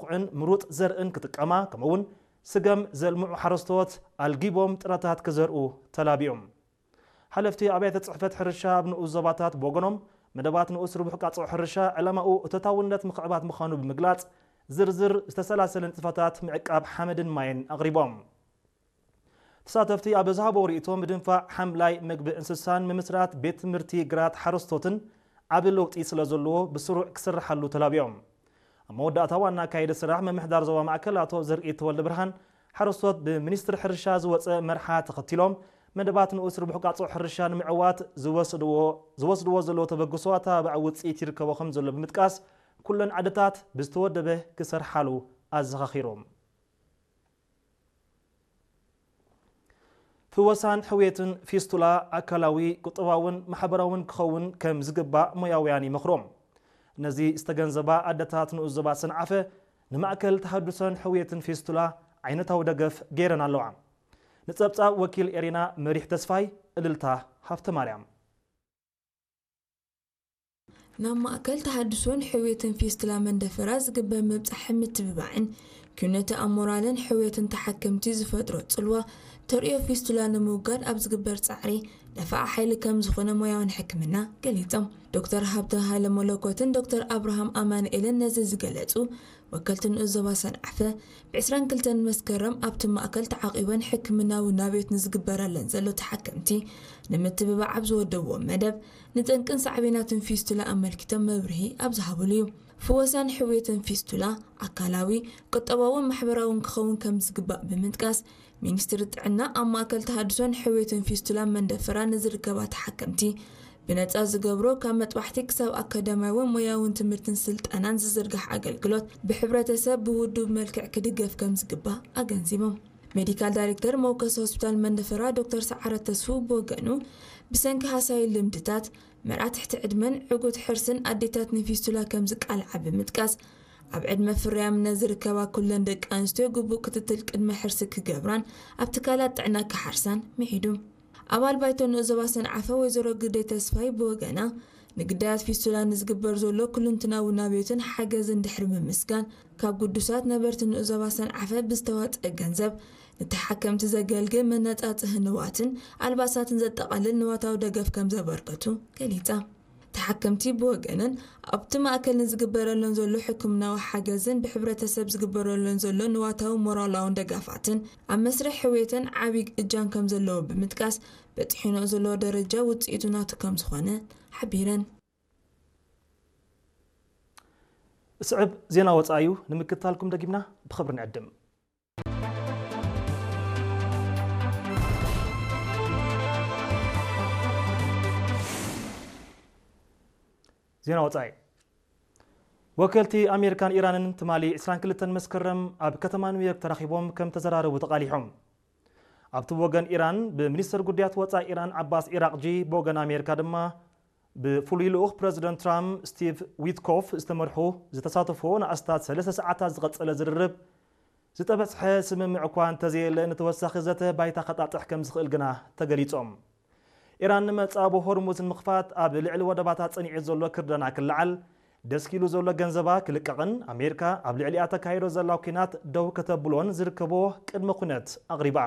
ዘውዕን ምሩፅ ዘርእን ክጥቀማ፣ ከምኡውን ስገም ዘልምዑ ሓረስቶት ኣልጊቦም ጥረታት ክዘርኡ ተላቢዮም። ሓለፍቲ ኣብያተ ጽሕፈት ሕርሻ ኣብ ንኡስ ዞባታት ብወገኖም፣ መደባት ንኡስ ርቡሕ ቃጽኦ ሕርሻ ዕላማኡ እቶታውነት ምኽዕባት ምዃኑ ብምግላጽ፣ ዝርዝር ዝተሰላሰለ ንጥፈታት ምዕቃብ ሓመድን ማይን ኣቕሪቦም። ተሳተፍቲ ኣብ ዝሃቦ ርእይቶ፣ ምድንፋዕ ሓምላይ መግቢ እንስሳን ምምስራት ቤት ትምህርቲ ግራት ሓረስቶትን ዓቢ ለውጢ ስለ ዘለዎ ብስሩዕ ክስርሓሉ ተላቢዮም። ኣብ መወዳእታ ዋና ኣካይዲ ስራሕ ምምሕዳር ዞባ ማእከል ኣቶ ዘርኢ ተወልደ ብርሃን፣ ሓረስቶት ብሚኒስትሪ ሕርሻ ዝወጸ መርሓ ተኸቲሎም መደባት ንኡስ ርቡሕ ቃጽኦ ሕርሻ ንምዕዋት ዝወስድዎ ዝወስድዎ ዘለዉ ተበግሶ ኣተባባዒ ውጽኢት ይርከቦ ከም ዘሎ ብምጥቃስ፣ ኩለን ዓድታት ብዝተወደበ ክሰርሓሉ ኣዘኻኺሮም። ፍወሳን ሕውየትን ፊስቱላ ኣካላዊ፣ ቁጠባውን ማሕበራውን ክኸውን ከም ዝግባእ ሞያውያን ይመኽሮም። ነዚ ዝተገንዘባ ኣደታት ንኡስ ዞባ ሰንዓፈ ንማእከል ተሃድሶን ሕውየትን ፊስቱላ ዓይነታዊ ደገፍ ገይረን ኣለዋ። ንጸብጻብ ወኪል ኤሪና መሪሕ ተስፋይ፣ እልልታ ሃብተ ማርያም። ናብ ማእከል ተሃድሶን ሕውየትን ፊስቱላ መንደፈራ ዝግበር ምብጻሕን ምትብባዕን፣ ኩነተ ኣሞራልን ሕውየትን ተሓከምቲ ዝፈጥሮ ጽልዋ ተርእዮ ፊስቱላ ንምውጋድ ኣብ ዝግበር ጻዕሪ ነፋዓ ሓይሊ ከም ዝኾነ ሞያውን ሕክምና ገሊጾም። ዶክተር ሃብተ ሃይለ መለኮትን ዶክተር ኣብርሃም ኣማኑኤልን ነዚ ዝገለጹ፣ ወከልቲ ንኡስ ዞባ ሰንዓፈ፣ ብ ዕስራን ክልተን መስከረም ኣብቲ ማእከል ተዓቒበን ሕክምናዊ ናብዮት ንዝግበረለን ዘሎ ተሓከምቲ ንምትብባዕ ኣብ ዝወደብዎ መደብ፣ ንጠንቅን ሳዕቤናትን ፊስቱላ ኣመልኪቶም መብርሂ ኣብ ዝሃብሉ እዩ። ፍወሳን ሕውየትን ፊስቱላ ኣካላዊ፣ ቁጠባውን ማሕበራውን ክኸውን ከም ዝግባእ ብምጥቃስ፣ ሚኒስትሪ ጥዕና ኣብ ማእከል ተሃድሶን ሕውየትን ፊስቱላ መንደፈራ ንዝርከባ ተሓከምቲ ብነጻ ዝገብሮ፣ ካብ መጥባሕቲ ክሳብ ኣካዳሚያዊ ሞያውን ትምህርትን ስልጠናን ዝዝርጋሕ ኣገልግሎት፣ ብሕብረተሰብ ብውዱብ መልክዕ ክድገፍ ከም ዝግባእ ኣገንዚቦም። ሜዲካል ዳይሬክተር መወከሲ ሆስፒታል መንደፈራ ዶክተር ሰዓረ ተስፉ ብወገኑ፣ ብሰንኪ ሃሳይ ልምድታት፣ መርዓ ትሕቲ ዕድመን ዕጉት ሕርስን ኣዴታት ንፊስቱላ ከም ዝቃልዓ ብምጥቃስ፣ ኣብ ዕድመ ፍርያምነት ዝርከባ ኩለን ደቂ ኣንስትዮ ግቡእ ክትትል ቅድመ ሕርሲ ክገብራን ኣብ ትካላት ጥዕና ክሓርሳን ምዒዱ። ኣባል ባይቶ ንኡስ ዞባ ሰንዓፈ ወይዘሮ ግደይ ተስፋይ ብወገና፣ ንግዳያት ፊስቱላ ንዝግበር ዘሎ ኩልንትናዊ ናብዮትን ሓገዝን ድሕሪ ምምስጋን፣ ካብ ግዱሳት ነበርቲ ንኡስ ዞባ ሰንዓፈ ብዝተዋፀአ ገንዘብ ንተሓከምቲ ዘገልግል መነፃፅሂ ንዋትን ኣልባሳትን ዘጠቓልል ንዋታዊ ደገፍ ከም ዘበርከቱ ገሊፃ። ተሓከምቲ ብወገነን፣ ኣብቲ ማእከል ንዝግበረለን ዘሎ ሕክምናዊ ሓገዝን ብሕብረተሰብ ዝግበረለን ዘሎ ንዋታዊ ሞራላውን ደጋፋትን ኣብ መስርሕ ሕውየተን ዓቢ እጃም ከም ዘለዎ ብምጥቃስ፣ በጺሑንኦ ዘሎ ደረጃ ውጽኢቱ ናቱ ከም ዝኾነ ሓቢረን። ስዕብ ዜና ወጻኢ እዩ፣ ንምክትታልኩም ደጊምና ብኽብሪ ንዕድም። ዜና ወጻኢ። ወከልቲ ኣሜሪካን ኢራንን ትማሊ ዕስራን ክልተን መስከረም ኣብ ከተማ ኒውዮርክ ተራኺቦም ከም ተዘራረቡ ተቓሊሖም። ኣብቲ ወገን ኢራን ብሚኒስተር ጉዳያት ወጻኢ ኢራን ዓባስ ኢራቕጂ፣ ብወገን ኣሜሪካ ድማ ብፍሉይ ልኡኽ ፕረዚደንት ትራምፕ ስቲቭ ዊትኮፍ ዝተመርሑ ዝተሳተፍዎ ንኣስታት ሰለስተ ሰዓታት ዝቐጸለ ዝርርብ፣ ዝተበጽሐ ስምምዕ እኳ እንተዘየለ፣ ንተወሳኺ ዘተ ባይታ ከጣጥሕ ከም ዝኽእል ግና ተገሊጾም። ኢራን ንመጻ ብሆርሙዝ ንምኽፋት ኣብ ልዕሊ ወደባታ ጸኒዑ ዘሎ ክርደና ክለዓል፣ ደስኪሉ ዘሎ ገንዘባ ክልቀቕን ኣሜሪካ ኣብ ልዕሊኣ ተካይዶ ዘላ ኲናት ደው ከተብሎን ዝርከቦ ቅድመ ኩነት ኣቕሪባ።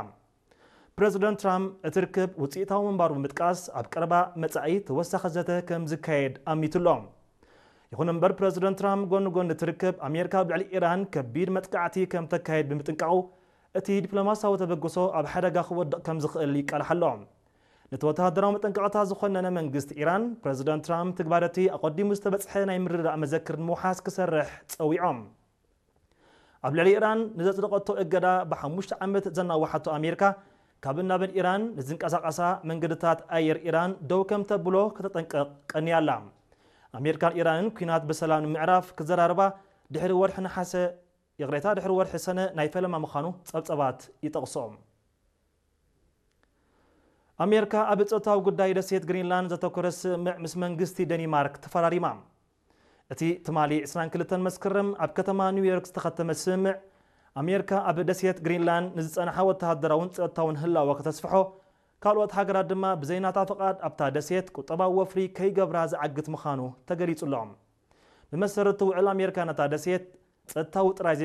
ፕረዚደንት ትራምፕ እቲ ርክብ ውጽኢታዊ ምንባሩ ብምጥቃስ፣ ኣብ ቀረባ መጻኢ ተወሳኺ ዘተ ከም ዝካየድ ኣሚቱ ኣሎ። ይኹን እምበር፣ ፕረዚደንት ትራምፕ ጎኒ ጎኒ እቲ ርክብ፣ ኣሜሪካ ኣብ ልዕሊ ኢራን ከቢድ መጥቃዕቲ ከም ተካይድ ብምጥንቃቑ፣ እቲ ዲፕሎማሲያዊ ተበግሶ ኣብ ሓደጋ ክወድቕ ከም ዝኽእል ይቃልሕ ኣሎ። ነቲ ወተሃደራዊ መጠንቀቕታ ዝኾነነ መንግስቲ ኢራን፣ ፕረዚደንት ትራምፕ ትግባረቲ ኣቐዲሙ ዝተበጽሐ ናይ ምርድዳእ መዘክር ንምውሓስ ክሰርሕ ጸዊዖም። ኣብ ልዕሊ ኢራን ንዘጽደቐቶ እገዳ ብሓሙሽተ ዓመት ዘናውሓቶ ኣሜሪካ፣ ካብን ናብን ኢራን ንዝንቀሳቐሳ መንገድታት ኣየር ኢራን ደው ከም ተብሎ ከተጠንቅቕ ቀንያ ኣላ። ኣሜሪካን ኢራንን ኲናት ብሰላም ንምዕራፍ ክዘራረባ ድሕሪ ወርሒ ነሓሰ፣ ይቕሬታ፣ ድሕሪ ወርሒ ሰነ ናይ ፈለማ ምዃኑ ጸብጸባት ይጠቕሶ። ኣሜሪካ ኣብ ጸጥታዊ ጉዳይ ደሴት ግሪንላንድ ዘተኮረ ስምምዕ ምስ መንግስቲ ደኒማርክ ተፈራሪማ። እቲ ትማሊ ዕስራን ክልተን መስከረም ኣብ ከተማ ኒውዮርክ ዝተኸተመ ስምምዕ፣ ኣሜሪካ ኣብ ደሴት ግሪንላንድ ንዝጸንሓ ወተሃደራውን ጸጥታውን ህላወ ከተስፍሖ፣ ካልኦት ሃገራት ድማ ብዘይ ናታ ፍቓድ ኣብታ ደሴት ቁጠባዊ ወፍሪ ከይገብራ ዝዓግት ምዃኑ ተገሊጹ ኣሎ። ብመሰረት እቲ ውዕል፣ ኣሜሪካ ነታ ደሴት ጸጥታዊ ጥራይ